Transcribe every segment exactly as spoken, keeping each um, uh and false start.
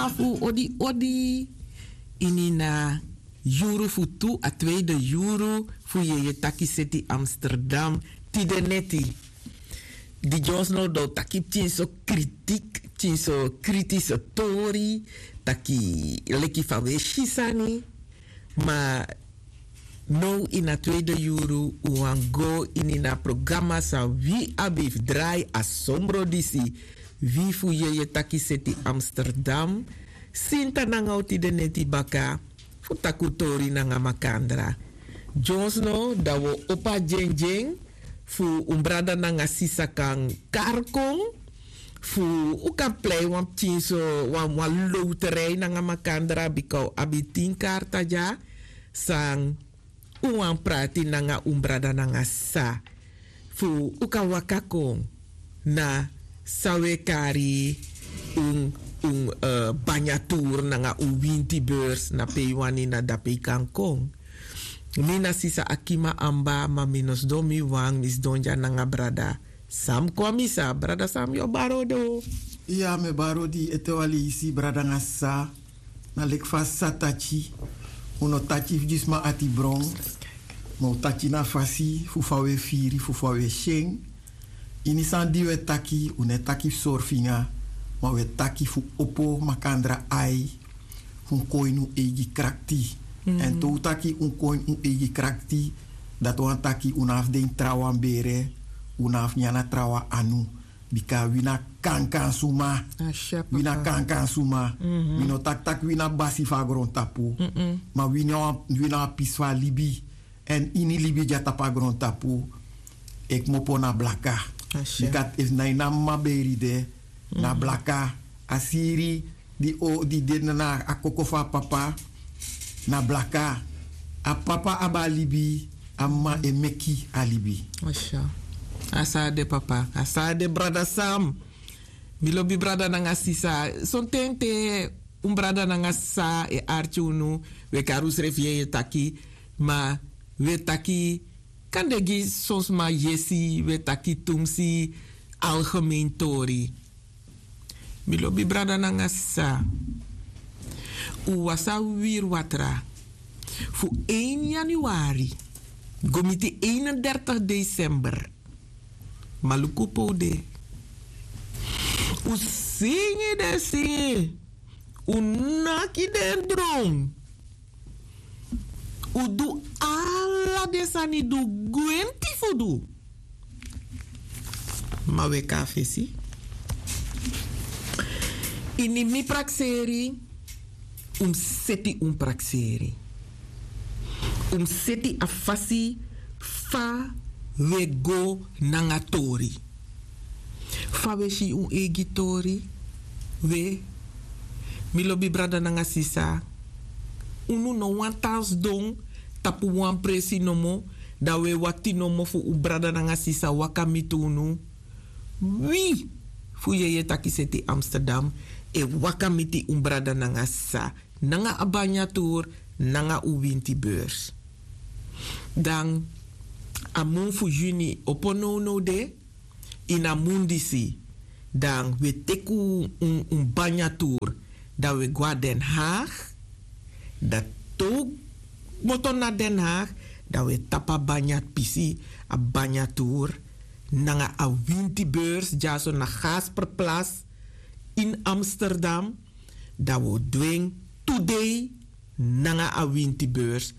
Fu odi odi ini na yuru fu tu a tweede yuru fu yeye taki seti Amsterdam tide neti. Di Jones no do taki pikin so kritik, pikin so kritise tori, taki leki fa we si sani. Ma now ini a tweede yuru un wan go ini na programa san wi abi fu drai a sombro disi. Wi fu yeye taki seti Amsterdam sinta nanga un tide neti baka fu taki un tori nanga makandra. Jones no dan un o opo a dyendyen fu un brada nanga sisa kan kari kon fu un kan plei wan pikin so wan wan lowterei nanga makandra bika un abi tin karta dya san un wani prati nanga un brada nanga sisa fu un kan waka kon na san un e kari un un banya tour nanga un winti beurs na pe yu wani na dape yu kan kon. Mi na sisa akima amba ma mi no sidon mi wan mi sidon dya nanga brada sam kwamisa brada sam yu o bari odi o. Iya mi e bari odi ete wan leisi brada nanga sisa. Na leki fa sisa taki un no taki fu gi sma ati bron. Ma un taki na fasi fu fa un e firi fu fa un e si en. Ini sani di un e taki un no e taki fu sori finga ma un e taki fu opo makandra ai fu un kon ini un eigi krakti. Èn te un taki un kon ini un eigi krakti dati wani taki un no abi fu de ini trawan bere. Un no abi fu nyan na trawan anu. Bika wi na kankan suma. Wi na kankan suma. Wi no taki tak' wi na basi fu a grontapu ma wi na wan pisi fu a libi. Èn ini libi dya tapu a grontapu e kmopo na blaka. Bika efu na ini a mama beri de na blaka. A siri di o di de na a koko fu a papa na blaka. A papa abi a libi a mama e meki a libi. A sa de papa a sa de brada sam. Mi lobi brada nanga sisa sonten te un brada nanga sisa e arki unu. Wi e kari unsrefi yeye taki ma wi e taki kande gi son sma yesi wi e taki tumsi algemen tori. Mi lobi brada nanga sisa un wasi a wiwiri watra fu ein yanuari go miti einendertig desember. Ma luku pe un de. Un singi den singi un naki den dron. Un du ala den sani di un gwenti fu du. Ma un e kon na fesi ini mi prakseri. Un mus seti un prakseri. Un mus seti a fasi fa un e go nanga tori. Fa un e si un eigi tori. We mi lobi brada nanga sisa. Unu no wani tan sidon tapu wan presi nomo dan un e wakti nomo fu un brada nanga sisa waka miti unu. Wi fu yeye taki seti amsterdam e waka miti un brada nanga sisa nanga a banya tour nanga un winti beurs. Dan a mun fu yuni opo nownow de ini a mun disi dan wi e teki un banya tour dan wi e go na den haag. Dan te un kmoto na den haag dan wi e tapu a banya pisi a banya tour nanga a winti beurs dyaso na gasperplas ini amsterdam. Dan wi o du en tu dei nanga a winti beurs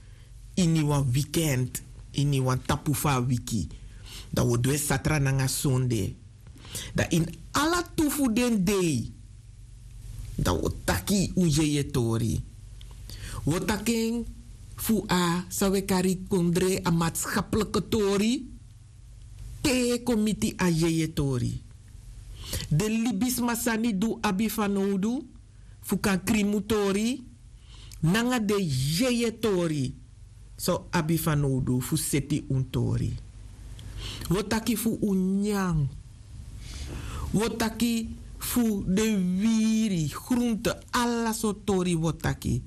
ini wan wikend ini wan tapu fu a wiki. Dan wi o du en satra nanga sonde. Dan ini ala tu fu den dei dan wi o taki un jejetori. Wi o taki en fu a san wi e kari kondre a matskaplike tori. Te kon miti a jejetori den libisma sani di un abi fanowdu fu kan krin un tori nanga den jejetori san un abi fanowdu fu seti un tori. Wi o taki fu un nyan. Wi o taki fu den wiri grunte ala sortu tori wi o taki.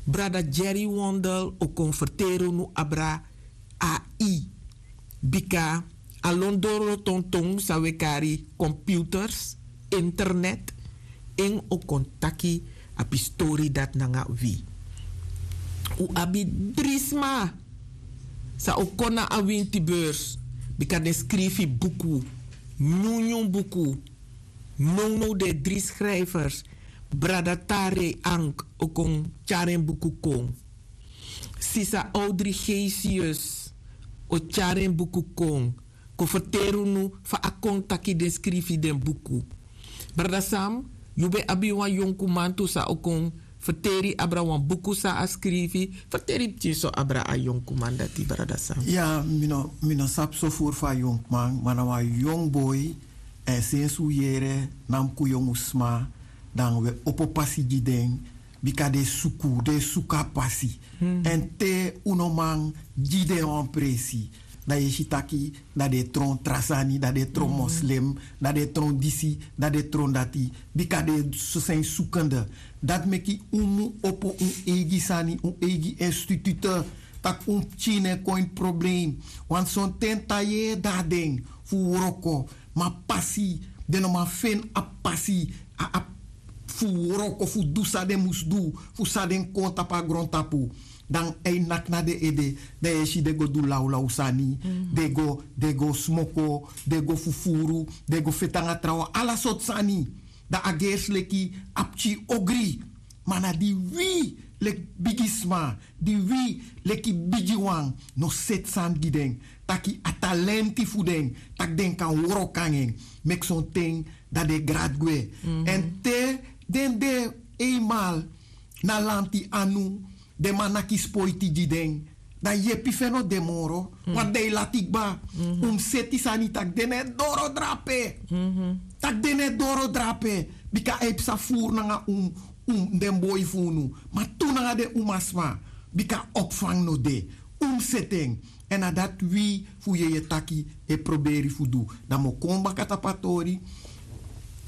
Brada jerry wondel o kon ferteri unu abra ai. Bika a lon doro tonton san wi e kari komputers internet en o kon taki a pistori dati nanga wi. Un abi dri sma san o kon na a winti beurs, bika den skrifi buku, nyunyun buku. Nownow den dri skrijfers, brada Tarei Ank o kon tyari en buku kon. Sisa Audrey Gesius o tyari en buku kon, kon ferteri unu fa a kon taki den skrifi den buku. Brada Sam, yu ben abi wan yonkuman tu san o kon ferteri abra wan buku san a skrifi. Ferteri pikinso abra a yonkuman dati, brada Sam. Ya, mi no mi no sabi so furu fu a yonkuman, ma na wan yongu boi. Èn sensi un yere na mus kon yongu sma, dan un e opo pasi gi den, bika den e suku den e suku a pasi. Èn te un no man gi den wan presi, dan yu e si taki dan den e tron tra sani, dan den e tron moslim, dan den e tron disi, dan den e tron dati, bika den e soso en sukende. Dati meki un mu opo un eigi sani, un eigi institute, tak' un pikin no e kon ini problem. Wantu sonten tan yeye de na den fu wroko, ma pasi den no man feni a pasi, a abi fu wroko fu du san den mus du, fu san den kon tapu a grontapu. Dan a e naki na den ede, dan yu e si den go du lawlaw sani, den go den go smoko, den go fufuru, den go feti nanga trawan, ala sortu sani. Dan a gersi leki a pikin ogri. Ma na di wi leki bigisma, di wi leki bigiwan no seti sani gi den, taki a talenti fu den, tak' den kan wroko nanga en, meki sonten dan den e grati gwe. Èn te den de einmal na lanti anu, den man naki spoiti gi den, dan yepi fu en no de moro. Wan dei lati kba, un mus seti sani tak' den no e doro drape, tak' den no e doro drape, bika a e psa furu nanga un, un den boi fu unu, ma tu nanga den umasma, bika opfang no de. Un mus seti en. Èn na dati wi fu yeye taki e proberi fu du. Dan mi o kon baka tapu a tori,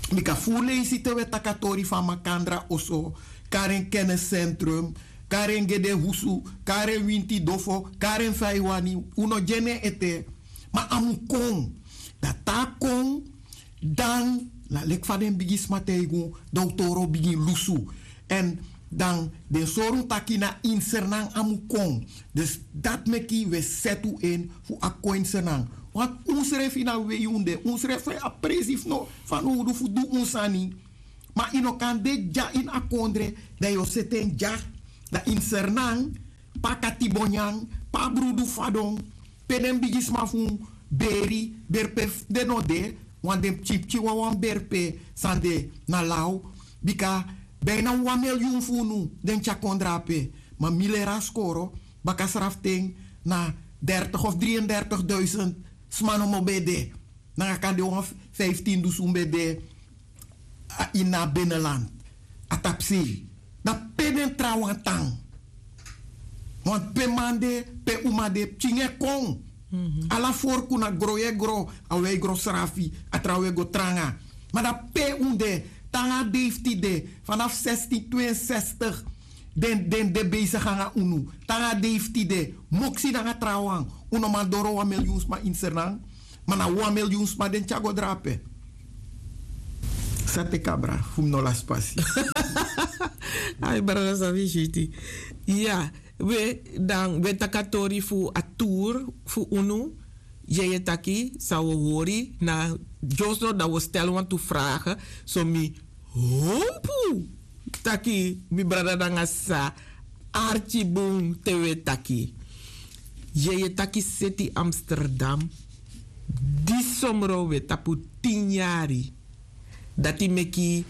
bika fu leisi te un e taki a tori fu a makandra oso, kari en kenniscentrum, kari en gedehusu, kari en winti dofo, kari en fa yu wani, un no gi en nen ete. Ma a mu kon. Dan te a kon, dan na leki fa den bigisma taigi un, dan un toro bigin lusu. Èn dan den sori un taki na ini sernan a mu kon. Dus dati meki un e seti un en fu a kon ini sernan. Wantu unsrefi na wei un de, unsrefi a presi fu no fanowdu fu du un sani. Ma yu no kan de dya ini a kondre, dan yu o seti en dya. Dan ini sernan, pe a katibo nyan, pe a brudu fadon, pe den bigisma fu un beri, beri pe den no de. Wan den pikinpikin wawan beri pe san de na law. Bika bina wan milyun fu unu den tyari kon drape. Ma mi leri a skoro, baka sraften na dertig of dri en dertig duisend sma nomo ben de. Nanga kande wan fiftin dusun ben de ini a beneland, a tapusei. Dan pe den trawan tan? Wantu pe man de, pe uma de, pikin e kon. Ala forku na gro yu e gro, a wi e gro srafi, a trawan e go tranga. Ma dan pe un de? Te nanga a dei fu tide, fanafu sestin twe en sestig, den den de beisigi nanga unu. Te nanga a dei fu tide, moksi nanga trawan, un no man doro wan milyun sma ini sernan. Ma na wan milyun sma den tyari go drape. San teki abra fu mi no lasi pasi. Ai brada, san wi switi. Ya, we dan we taki a tori fu a tour fu unu. Yeye taki san wi o hori na dyoso, dan wi o stel wantu frage. So mi hopu taki mi brada nanga sisa arki bun te wi e taki. Yeye taki seti Amsterdam, di somro wi e tapu tin yari. Dati meki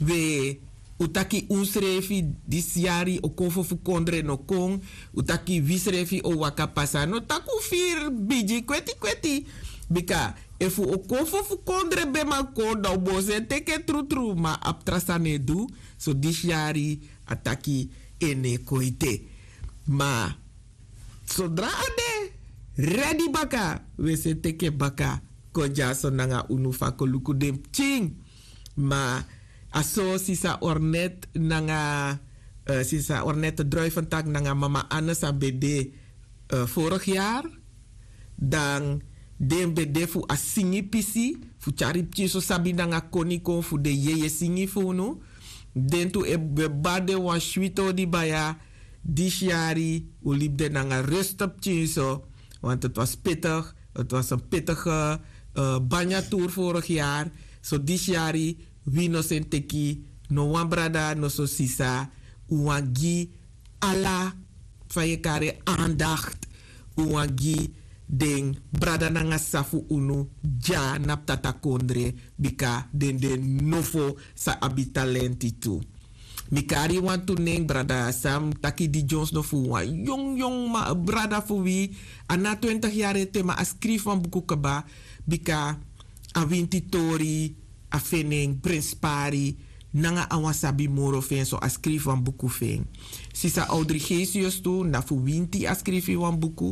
wi e, un taki unsrefi disi yari o kon fo fu kondre no kon. Un taki wisrefi o waka pasa, no taki un firi bigi kweti kweti. Bika efu o kon fo fu kondre ben man kon, dan un bo si en teke trutru, ma abi tra sani e du. So disi yari a taki en no e kon ete. Ma sodra a de redi baka, wi e si en teke baka kon dyaso nanga unu fu a kon luku den pikin. Ma a so sisa Ornet nanga, sisa Ornet Druiventak nanga mama Anne san ben de vorigi yari. Dan den ben de fu a singi pisi fu tyari pikinso sabi nanga koni kon fu den yeye singi fu unu. Den tu e bari den wan switi odi baya. Disi yari un libi den nanga ruste pikin so. Want het was pittig. Het was en pittige banya tour vorig yari. So disi yari wi no seni teki no wan brada no so sisa. Un wani gi ala fa yu e kari en andakti. Un wani gi den brada nanga sisa fu unu dya na ptata kondre. Bika den de nofo sa abi talenti tu. Mi kari wantu nen brada sam taki di dyonsno fu wan yong yong brada fu wi. A na twintig yari ete ma a skrifi wan buku kaba. Bika a winti tori a feni en prenspari nanga a wan sabi moro fu en so a skrifi wan buku fu en. Sisa audrigesius tu na fu winti a skrifi wan buku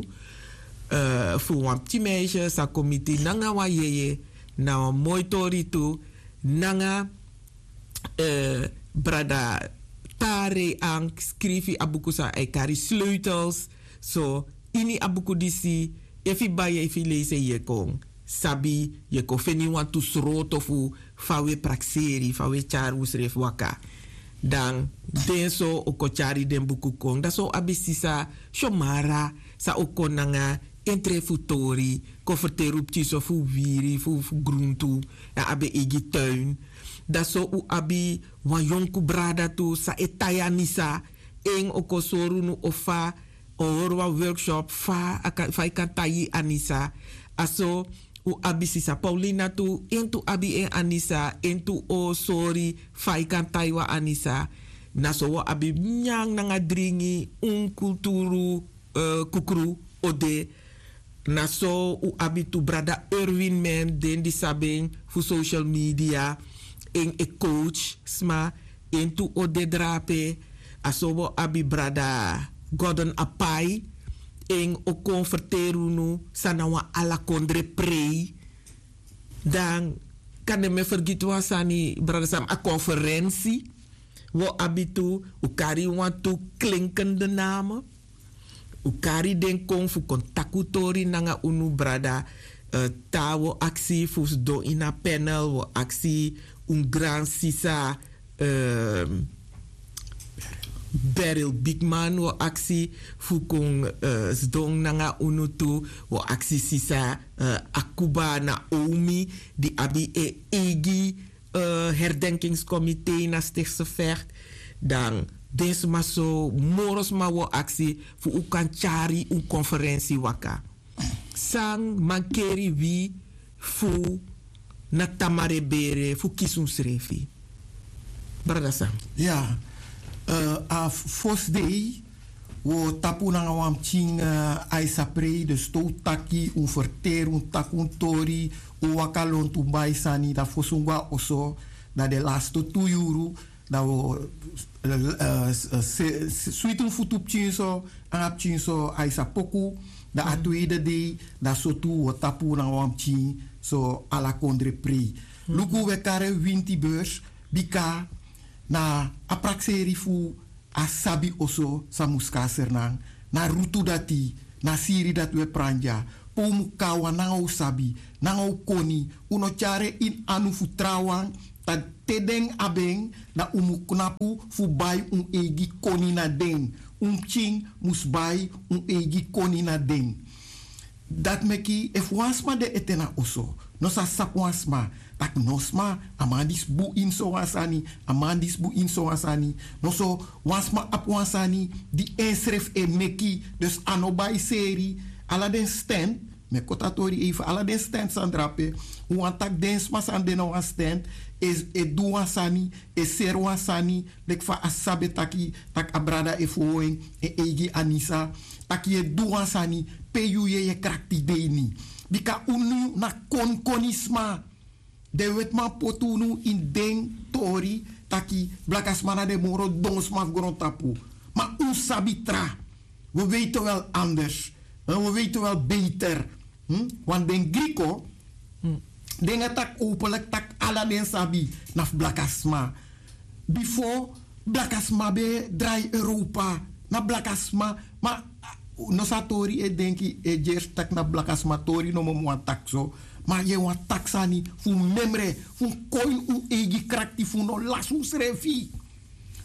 fu wan pikin meisye sa kon miti nanga wan yeye. Na wan moi tori tu nanga brada tare an skrifi a buku san a e kari sleutels. So ini a buku disi efu yu bai efu yu leisi en yu e kon sabi yu e kon feni wantu sroto fu fa un e prakseri fa un e tyari unsrefi waka. Dan den so o kon tyari den buku kon dan so un abi sisa syomara san o kon nanga entre fu tori kon ferteri un pikin so fu wiri fu gruntu. Dan abi en eigi tuin dan so un abi wan yonku brada tu san e tai anisa. En o kon sori unu o fa o hori wan workshop fa yu kan tai anisa. A so un abi sisa paulina tu en tu abi en anisa en tu o sori fa yu kan tai wan anisa. Na so un abi nyanyan nanga dringi un kulturu kukru o de. Na so un abi tu brada erwin men den di sabi en fu social media. En e coach sma en tu o de drape. A so un abi brada gordon apai en o kon ferteri unu san na wan ala kondre prei. Dan kan den mi e fergiti wan sani brada sami a konferensi. Un o abi tu un kari wantu klinkende name. Un kari den kon fu kon taki un tori nanga unu brada. Te a un o aksi fu sidon ini a panel un o aksi un gransisa beril bigman un o aksi fu kon sidon nanga unu tu. Un o aksi sisa akuba na omi di abi en eigi herdenkingskomite na stikse vecht. Dan den sma so moro sma un o aksi fu un kan tyari un konferensi waka. San mankeri wi fu na tamare bere fu kisi unsrefi? Brada san? Ya, a fosi dei un o tapu nanga wan pikin a e saprei dus te un taki un ferteri un taki un tori un waka lontu un bai sani dan fosi un go na oso dan den laste tu yuru dan un o switi un futu pikin so nanga pikin so a e sa poku dan a tweede dei dan so tu un o tapu nanga wan pikin so ala kondre prei. Luku un e kari en winti beurs bika na a prakseri fu a sabi oso san mus kon na sernan na rutu dati na siri dati un e pran dya pe un mus kon na wan nanga un sabi nanga un koni. Un no tyari en ini anu fu trawan tak' te den abi en dan un mus knapu fu bai un eigi koni na den. Un pikin mus bai un eigi koni na den. Dati meki efu wan sma de ete na oso no sa sabi wan sma tak' no sma a man disi bun ini sowan sani a man disi bun ini sowan sani. No so wan sma abi wan sani di ensrefi e meki dus a no bai seri ala den sten. Mi e koti a tori eifi ala den sten san drape un wani tak' den sma san de na wan sten e du wan sani e seri wan sani leki fa a sabi e taki tak' a brada e fowo en en eigi anisa tak' yu e du wan sani pe yu yeye krakti de ini. Bika unu na konkoni sma den wetiman poti unu ini den tori taki blakasma na den moro don sma fu grontapu. Ma un sabi tra we weiti wel anders we weiti wel beter. Wan den griko den e taki openlik tak' ala den sabi na fu blakasma. Bifo blakasma ben e drai europa na blakasma ma no sa tori e denki e gersi tak' na blakasma tori nomo mi wani taki so. Ma yu e wani taki sani fu memre fu kon ini un eigi krakti fu no lasi unsrefi.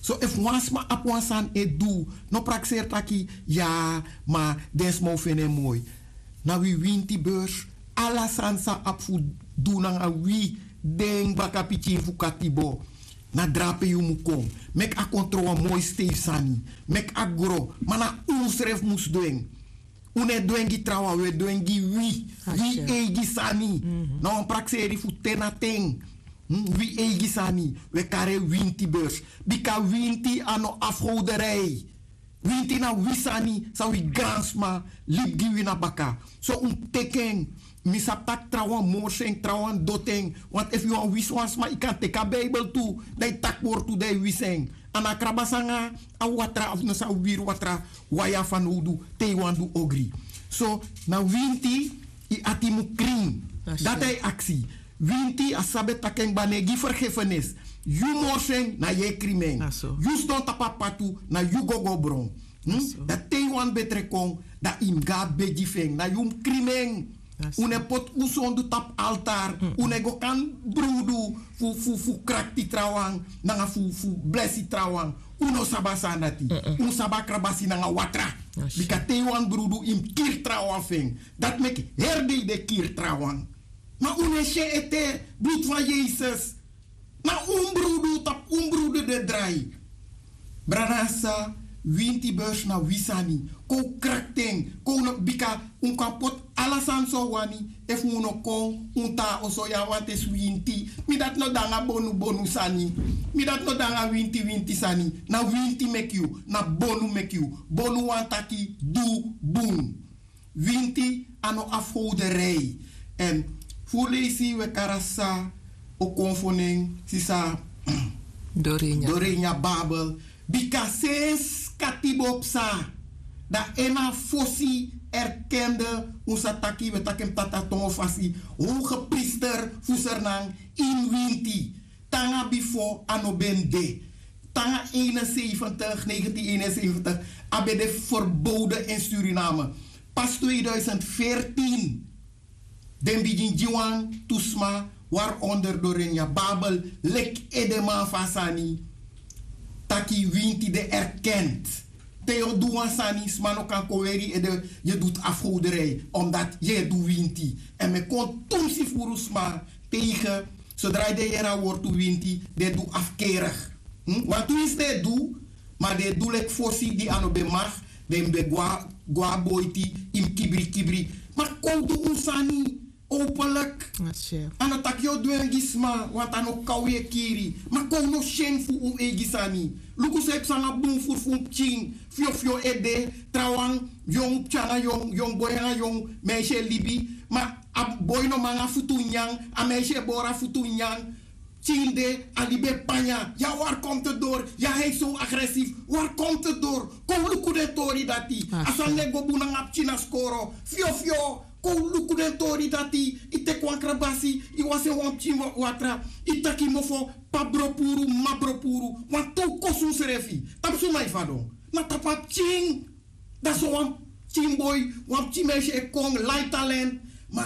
So efu wan sma abi wan sani e du, no prakseri taki ya, ma den sma o feni en moi. Na wi winti beurs, ala sani san abi fu du nanga wi, den bakapikin fu katibo. Na drape yu mu kon. Meki a kon tron wan moi steifi sani. Meki a gro, ma na unsrefi mus du en. Un no e du en gi trawan, un e du en gi wi. Wi eigi sani. Na wan prakseri fu ten na ten. Wi eigi sani, un e kari en winti beurs. Bika winti a no afgowderei. Winti na wi sani san wi gransma libi gi wi na baka. So un teki en. Mi sabi tak' trawan morsi en, trawan doti en. Want efu yu wani wisi wan sma, yu kan teki a Bijbel tu, dan yu taki wortu, dan yu wisi en. A no a krabasi nanga a watra, of no san, wiri watra wan ya fanowdu te yu wani du ogri. So na winti, yu ati mu krin. Dati a e aksi. Winti, a sabi taki en kba, no e gi fergefenis. Yu morsi en, na yu e krimi en. Yu sidon tapu a patu, na yu go go bron. Dan te yu wani betre kon, dan yu mus go na begi fu en, na yu mus krimi en. Un no e poti un sondu tapu altar. Un no e go kan brudu fu, fu, fu krakti trawan nanga fu, fu blesi trawan. Un no sabi a sani dati. Un sabi a krabasi nanga watra. Bika te yu wani brudu, yu mus kiri trawan fu en. Dati meki heri dei den kiri trawan. Ma un no e si en ete, bloed van Yesus. Na un brudu tapu un brudu de drai. Brada, sa, winti beurs na wi sani. Kon un krakti en, kon un no, bika un kan poti ala sani san un wani. Efu un no kon, un tan na oso ya, want esi winti. Mi dati no de nanga bonu bonu sani. Mi dati no de nanga winti winti sani. Na winti meki yu, na bonu meki yu. Bonu wani taki du bun. Winti a no afgowderei. Èn fu leisi un e kari a sisa Okonfonen, sisa Dorenia. Dorenia Babel. Bika sensi katibo psa, dan en na fosi erkende, un sa taki, un e taki en tata tongo fasi, hogepriester fu Sranan ini winti. Te nanga bifo a no ben de. Te nanga eenenzeventig, negentien eenenzeventig, a ben de verboden in Suriname. Pas tweeduizend veertien den bigin gi wan tu sma, waaronder Dorenia Babel, leki edeman fu a sani, taki winti de erkend. Te yu o du wan sani, sma no kan kon weri yu ede, yu e du afgoderij, omdat yu e du winti. Èn mi e kon tumsi furu sma tegen, zodra den yere a wortu winti, den e du afkerig. Hm? Wantu winsi den e du, ma den e du leki fosi di a no ben mag, den ben gwa, gwa boiti, yu mus kibri kibri. Ma kon du un sani openlijk. A no taki yu o du en gi sma, want a no kon yu e kiri. Ma kon no syen fu un eigi sani. Luku san e psa nanga bun furu fu un pikin. Fyofyo ede, trawan, yongu pikin nanga yongu, yongu boi nanga yongu meisje e libi. Ma a boi no man nanga futu nyan, a meisje e bori a futu nyan. Pikin de, a libi e panya. Ya, waar komt het door? Ya, hij is zo agressief. Waar komt het door? Kon luku den tori dati. A sani no e go bun nanga pikin na skoro. Fyofyo, kon luku den tori dati. Yu teki wan krabasi, yu wasi en wan pikin wa-, watra. Yu taki mofo, pa bropuru, ma bropuru. Wantu un kosi unsrefi. Tapu suma yu fadon? Na tapu a pikin. Dan so wan pikin boi, wan pikin meisje e kon, lai talent. Ma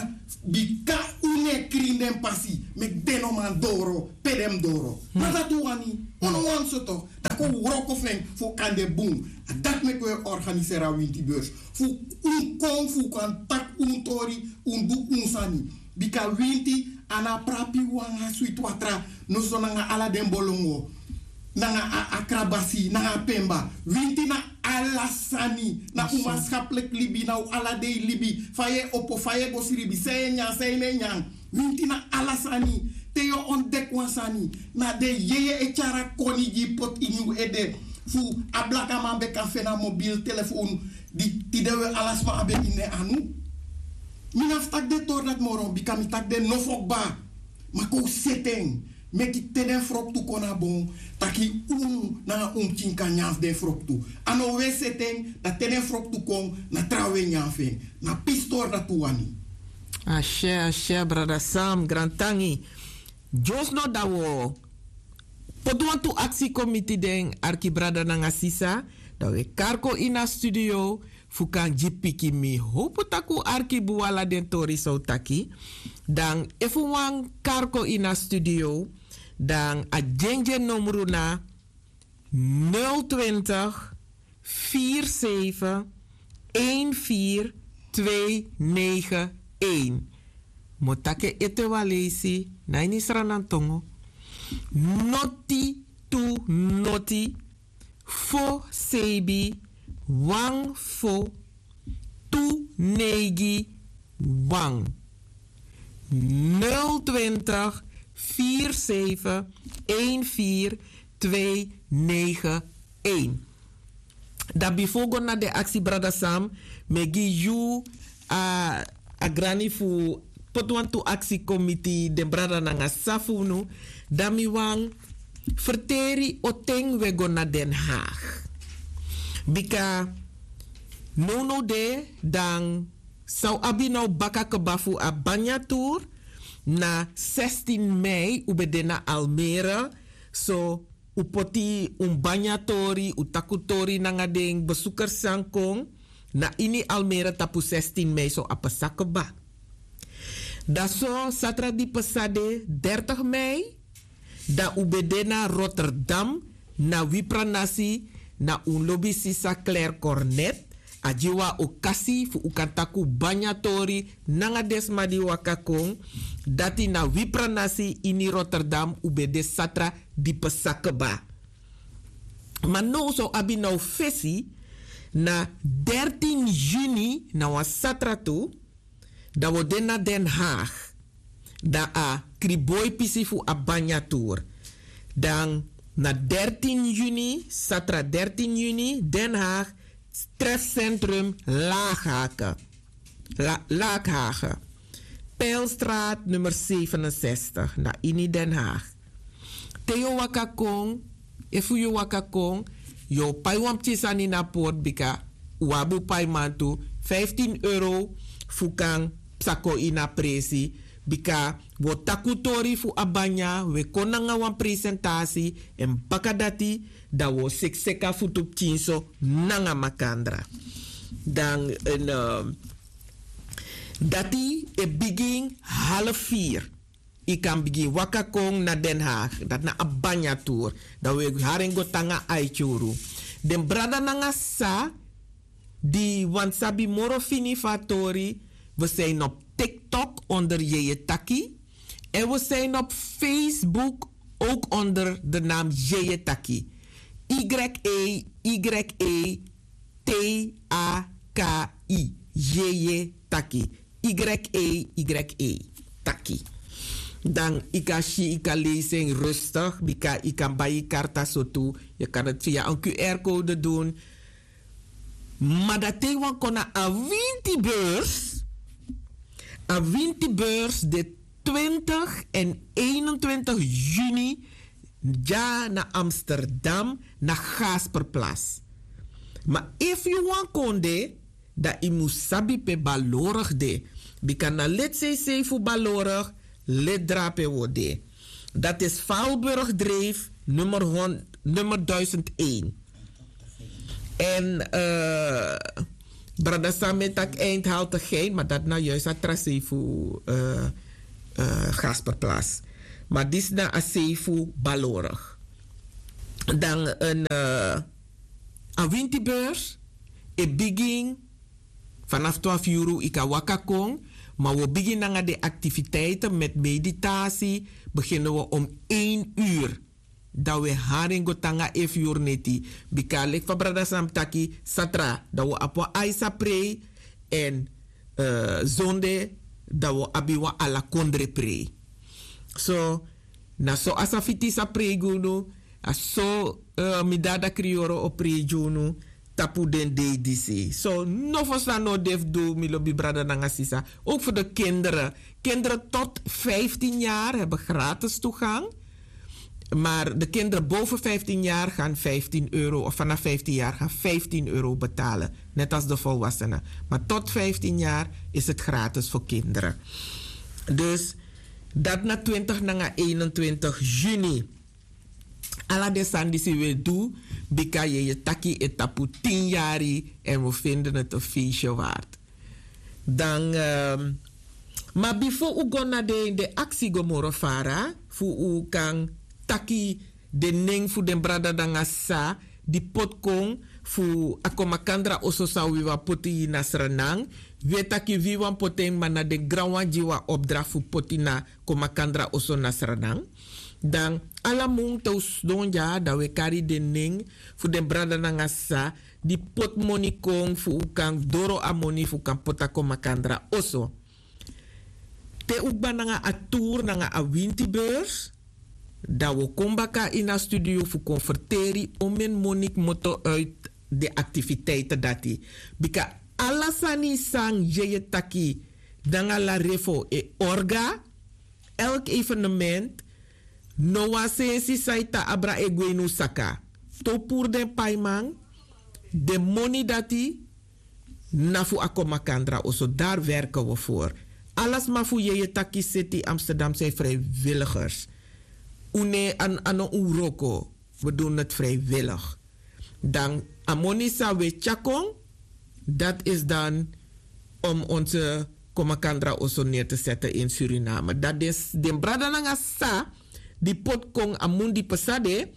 bika un no e krin den pasi, meki den no man doro pe den mus doro. Ma dati un wani, un no wani so toch. Dan kon un wroko fu en fu kan de bun. A dati meki un e organiseri a winti beurs. Fu un kon, fu un kan taki un tori, un du un sani. Bika winti a no abi prapi wan switi watra, noso nanga ala den bolongo, nanga a, a krabasi, nanga a pemba. Winti na ala sani, na un manschappelijk libi, na un ala dei libi. Fa yu e opo, fa yu e go sribi, san yu e nyan, san yu no e nyan. Winti na ala sani. Te yu o ontdek wan sani, na den yeye e tyari a koni gi yu poti ini un ede. Fu a blakaman ben kan feni a mobiel telefon, di tide we ala sma abi en ini en anu. Mi no abi fu taki den tori dati moro, bika mi taki den nofo kba. Ma kon un seti en, meki te den froktu kon na bon, taki unu nanga un pikin kan nyan fu den froktu. A no un e seti en, dan te den froktu kon, na trawan e nyan fu en. Na pisi tori dati un wani. Ashe, ashe, brada Sam, grantangi. Dyosno dan wi o poti wantu aksi kon miti den arki brada nanga sisa, dan wi e kari kon ini a studio fu kan gi piki. Mi howpu tak' un arki bun ala den tori san un taki. Dan efu un wani kari kon ini a studio, dan a dyendyen nomru na nul twintig vier zeven een vier twee negen een. Motake ete walesi na ini sranantongo. Noti tu noti fo sebi wan fo tu neigi wan. Nul twintig vier zeven een vier twee negen een. Dan bifo go na den aksi brada Sam, mi e gi yu a, a grani fu poti wantu aksi kon miti den brada nanga sisa fu unu. Dan mi wani ferteri o ten wi e go na Den Haag. Bika nownow de dan san un abi na un baka kba fu a banya tour. Na sestin mei un ben de na Almere. So un poti un banya tori, un taki un tori nanga den besuker san kon na ini Almere tapu sestin mei, so a pasa kba. Dan so satra di pasa de dertig mei, dan un ben de na Rotterdam, na wi pranasi, na un lobi sisa Claire Cornet. A gi wan okasi fu un kan taki un banya tori nanga den sma di waka kon. Dati na wi pranasi ini Rotterdam un ben de satra di pasa kba. Ma now san un abi na un fesi, na dertin juni, na wan satra tu, dan wi o de na Den Haag. Dan a kriboi pisi fu a banya tour. Dan na dertin juni, satra dertin juni, Den Haag, trefcentrum Laaghagen. La, Laaghagen. Pijlstraat nummer zevenenzestig, na ini Den Haag. Te yu o waka kon, efu yu o waka kon, yu o pai wan pikin sani na port, bika un abi un paiman tu, vijftien euro fu kan psa kon ini a presi. Bika wi o taki un tori fu a banya, wi e kon nanga wan presentasi, èn baka dati dan wi o seki seki a futu pikin so nanga makandra. Dan en, eh, dati e bigin half vier. Yu kan bigin waka kon na Den Haag, dati na a banya tour. Dan wi e hari en go tan nanga a e tyari unu. Den brada nanga sisa di wani sabi moro fini fu a tori, wi zijn op TikTok onder Yeye Taki. En we zijn op Facebook ook onder de naam Yeye Taki. Y E Y E T A K I. Yeye Taki. Y E Y E Taki. Dan yu kan si, yu kan leisi en rustig, bika yu kan bai yu karta so tu. Yu kan het via een Q R-code doen. Ma dati wan kon na a winti beurs. A winti beurs de twintig en eenentwintig juni, dya na Amsterdam, na Gasperplas. Ma efu yu wani kon de, dan yu mus sabi pe Balorg de. Bika na lid C C fu Balorg, lid drape wi o de. Dat is Valburgdreef nummer honderd, nummer duizend één. En, eh, brada Sam e taki Eindhaltigheid, maar dat na juist a tra sei fu, eh, eh, Gasperplas. Maar disi na a sei fu Balorg. Dan een, eh, a winti beurs e bigin vanaf twaalf uur, yu kan waka kon, maar we beginnen nanga de activiteiten met meditatie. Beginnen we om één uur. Dan we hari en go tan nanga efu yu neti. Bika leki fa brada Sam taki, satra dan we abi wan aisa prei. En, eh, zonde dan we abi wan ala kondre prei. So, na so a sa fiti sa prei gi unu, a so, eh, mi dada Krioro o prei gi unu tapu den dei disi. So, nofo san no de fu du, mi lobi brada nanga sisa. Ook voor de kinderen. Kinderen tot vijftien jaar hebben gratis toegang. Maar de kinderen boven vijftien jaar gaan vijftien euro, of vanaf vijftien jaar gaan vijftien euro betalen. Net als de volwassenen. Maar tot vijftien jaar is het gratis voor kinderen. Dus dat na twintig nanga eenentwintig juni. Ala den sani disi we du, bika Yeye Taki e tapu tin yari, en we vinden het een feestje waard. Dan, ehm, ma bifo un go na den, den aksi go moro fara, fu un kan taki den nen fu den brada nanga sisa di poti kon fu a kon makandra oso san wi wani poti na sranan. Wi e taki wi wani poti en ma na den granwan gi wi a opdrakti fu poti na kon makandra oso na sranan. Dan ala mun te un sidon dya dan wi e kari den nen fu den brada nanga sisa di poti moni kon fu un kan doro a moni fu kan poti a kon makandra oso. Te un kba nanga a tour nanga a winti beurs, dan wi o kon baka ini a studio fu kon ferteri omeni moni kmoto uit den aktiviteiten dati. Bika ala sani san yeye taki nanga larefo e orga, elk evenement, no wan sensi san e tan abra e gwe ini un saka. Te un puru den paiman, den moni dati na fu a kon makandra oso dari werken wi for. Ala sma fu yeye taki seti amsterdam san e vrijwilligers. Un ne a no un wroko, wi dun neti vrijwillig. Dan a moni san wi e tyari kon, dati isi dan om onse kon makandra oso neri te sete ini suriname dati den brada nanga sisa di poti kon a mun di pasa de.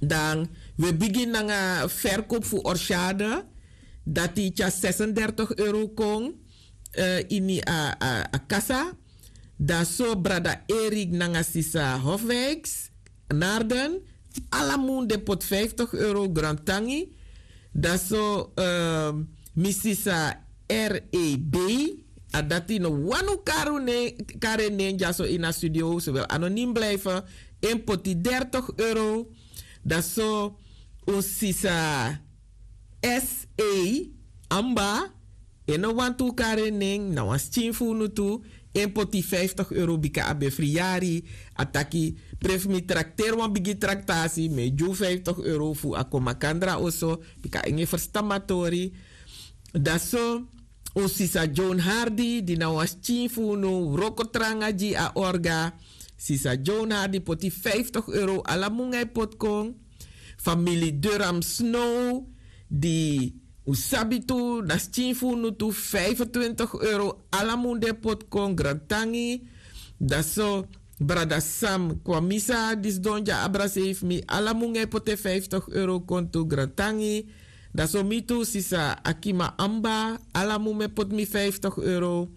Dan wi e bigin nanga ferkopu fu orsade, dati tyari sesendertig euro kon ini a kasa. Dan so brada erik nanga sisa hofwijks narden, ala mun den poti vijftig euro grantangi. Dan so mi sisa reb, a dati no wani un kari en nen dyaso ini a studio se wil anonim blijfe. En poti dertig euro. Dan so un sisa se amba, en no wantu un kari en nen na wan skin fu unu tu. En poti vijftig euro bika a ben friyari. A taki, prefu mi trakteri wan bigi traktasi mi e gi un vijftig euro fu a kon makandra oso. Bika en e ferstan mi a tori. Dan so un sisa john hardi di na wan skin fu unu wroko tranga gi a orga. Sisa john hardi poti vijftig euro ala mun nanga e poti kon. Famili durham snow di un sabi tu na skin fu unu tu vijfentwintig euro ala mun di e poti kon grantangi. Dan so brada sam kwamisa di sidon gi a abra seif mi ala mun nanga e poti en vijftig euro kon tu grantangi. Dan so mi tu sisa akima amba ala mun mi e poti mi vijftig euro.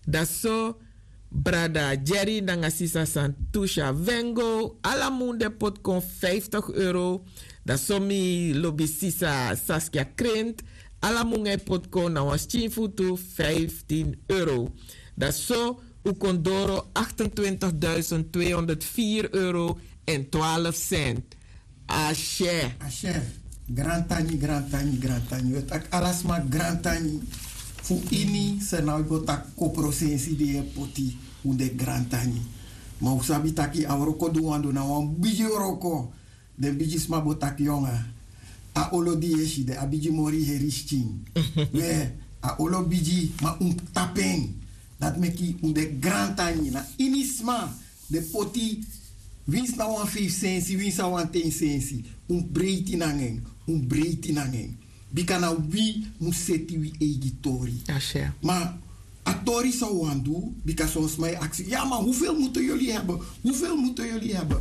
Dan so brada jerry nanga sisa santusha vengo ala mun di e poti kon vijftig euro. Dan so mi lobi sisa saskia krent ala mun nanga e poti kon na wan skin fu tu vijftin euro. Dan so un kon doro achtentwintig duizend tweehonderdvier euro en twaalf cent. Ashe. Ashe. Grantangi grantangi grantangi we taki ala sma grantangi. Fu ini sernau go taki koprosensi di yu e poti. Un de grantangi. Ma un sabi taki a wroko di un wani du na wan bigi wroko. Den bigi sma bo taki yonga. A olo di yu e si de a bigi mori heri skin. We a olo bigi ma un tapu en. Dati meki un de grantangi na ini sma. Den poti winsi na wan feifi sensi winsi na wan ten sensi. Un breiti nanga en. Un breiti nanga en. Bika na wi mus seti wi eigi tori. Ma a tori san un wani du. Bika son sma e aksi ya ma hufel mutu yuli hebe? Hufel mutu yuli hebe?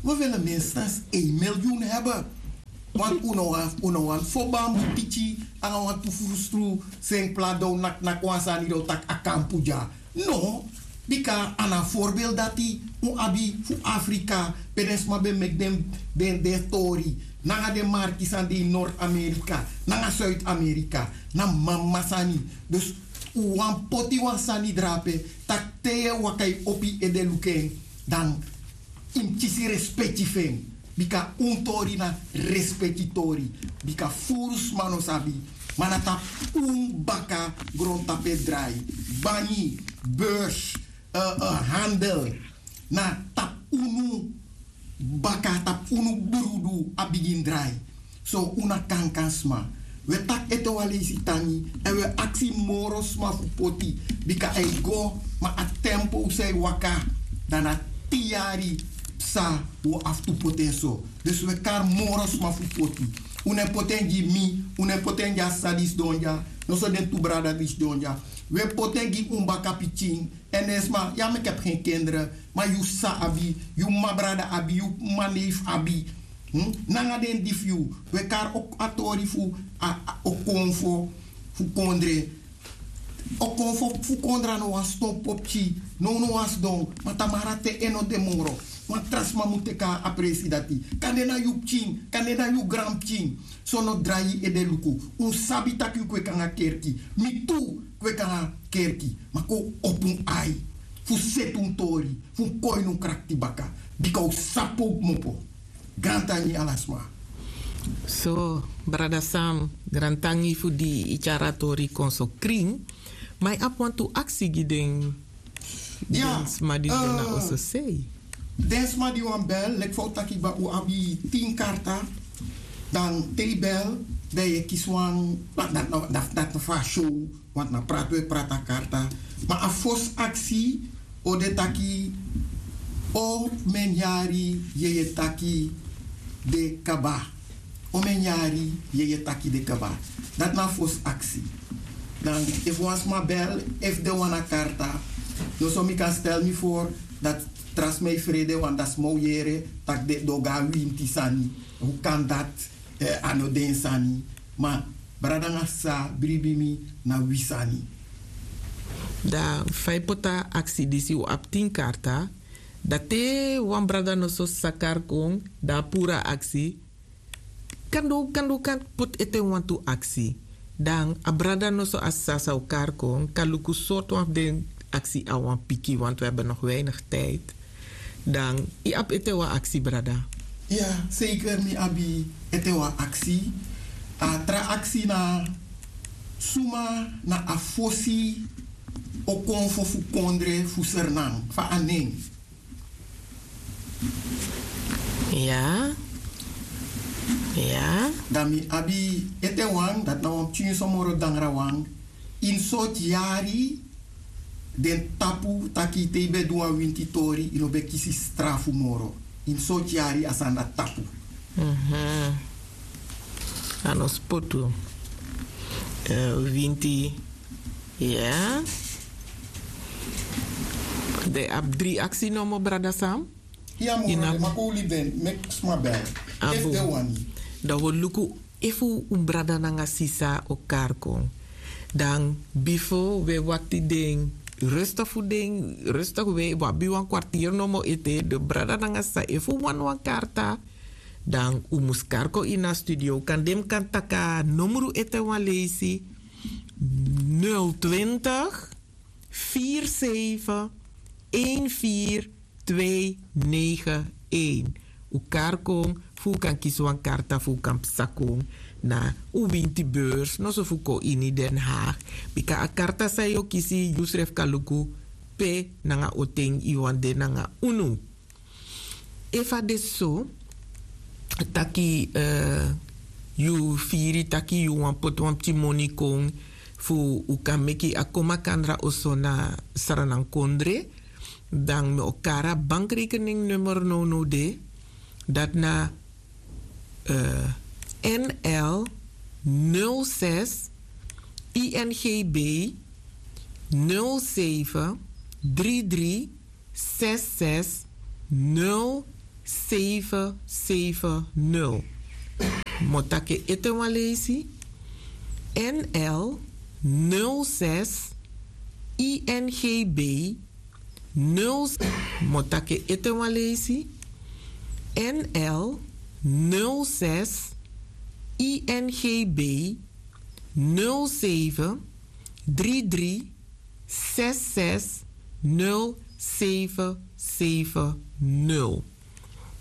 We wele minstens en milyun hebe. Want un no wani fu bambu piki nanga wantu frustru. Sen pla dan un naknaki wan sani dan un taki a kampu dya. No. Bika a na a forbeeld dati un abi fu afrika pe den sma ben meki den tori nanga den marki san de ini nord-amerika nanga suid-amerika. Na mama sani. Dus un wani poti wan sani drape tak' te yu e waka yu opo yu ede luku en dan yu mus kisi respeki fu en. Bika un tori na respeki tori. Bika furu sma no sabi ma na tapu un baka grontapu e drai. Banyi, beurs, handel, na tapu unu baka tapu unu brudu a bigin drai. So un na kankan sma. Wi e taki ete wan leisi tangi èn wi e aksi moro sma fu poti. Bika a e go ma a tempo san e waka dan na tin yari. Sa wi o abi tu poti en so. Dus wi e kari moro sma fu poti. Un no e poti en gi mi, un no e poti en gi a sisa di sidon dya, noso den tu brada di sidon dya. Wi e poti en gi un bakapikin. Èn den sma ya meki abi gen kendere, ma yu sisa abi, yu mama brada abi, yu mama neifi abi, nanga den di fu yu. Wi e kari a tori fu a okonfo fu kondre. Okonfo fu kondre a no wan sidon popki. Nownow a sidon, ma tamara te en no de moro. Wan tra sma mu teki a presi dati. Kande na yu pikin, kande na yu granpikin. So no drai yu ede luku. Un sabi tak' yu kweki nanga kerki. Mi tu kweki nanga kerki. Ma kon un opo un ai fu seti un tori, fu un kon ini un krakti baka. Bika un sabi pe un kmopo. Grantangi ala sma. So brada Sam, grantangi fu di yu tyari a tori kon so krin. Ma yu abi wantu aksi gi den sma di de na oso sei. Den sma di wani bel, leki fa un taki kba, un abi tin karta. Dan te yu bel, dan yu e kisi wan, dati na fu a show. Want na prati un e prati a karta. Ma a fosi aksi o de taki: omeni yari yeye taki de kaba? Omeni yari yeye taki de kaba? Dati na a fosi aksi. Dan efu wan sma bel, efu den wani a karta, noso mi kan stel mi for dati tra sma e frede, want dan sma o yere tak' den o go na winti sani. Fu kan dati? A no den sani. Ma brada nanga sisa, bribi mi, na wi sani. Dan fa yu poti a aksi disi, un abi tin karta. Dan te wan brada noso sa kari kon, dan a puru a aksi. Kande un kan poti ete wantu aksi. Dan a brada noso, a sisa san o kari kon, kan luku sortu wan fu den aksi a wan piki, want wi abi nog weinig tijd. Dan yu abi ete wan aksi, brada? Ya, seiker mi abi ete wan aksi. A tra aksi na: suma na a fosi okonfo fu kondre fu Sranan? Fa a nen? Ya. Ya. Dan mi abi ete wan, dati na wan pikinso moro dangra wan. Ini sortu yari den tapu taki te yu ben du wan winti tori, yu no ben kisi strafu moro? Ini sortu yari a sani dati tapu? A no spotu. Winti. Ya. Den abi dri aksi nomo, brada Sam. Ya moro, den maki un libi den, meki sma bel efu den wani. Dan wi o luku efu un brada nanga sisa o kari kon. Dan bifo wi e wakti den, rustig fu den, rustig, wi abi wan kwartier nomo ete. Den brada nanga sisa, efu un wani wan karta, dan un mus kari kon ini a studio. Kan den kan taki a nomru ete wan leisi: nul twintig, vier zeven, een vier, twee negen een. Un kari kon fu un kan kisi wan karta fu un kan psa kon na un winti beurs, noso fu kon ini Den Haag. Bika a karta san yu o kisi, yusrefi kan luku pe nanga oten yu wani de nanga unu. Efu a de so taki yu firi taki yu wani poti wan pikin moni kon fu un kan meki a kon makandra oso na Sranan kondre, dan mi o kari a bankrekening nummer nownow de. Dati na NL nul zes INGB nul zeven drie drie zes zes nul zeven zeven nul. Mi o taki en ete wan leisi: NL nul zes INGB nul. Mi o taki en ete wan leisi: NL nul zes INGB nul zeven drie drie zes zes nul zeven zeven nul.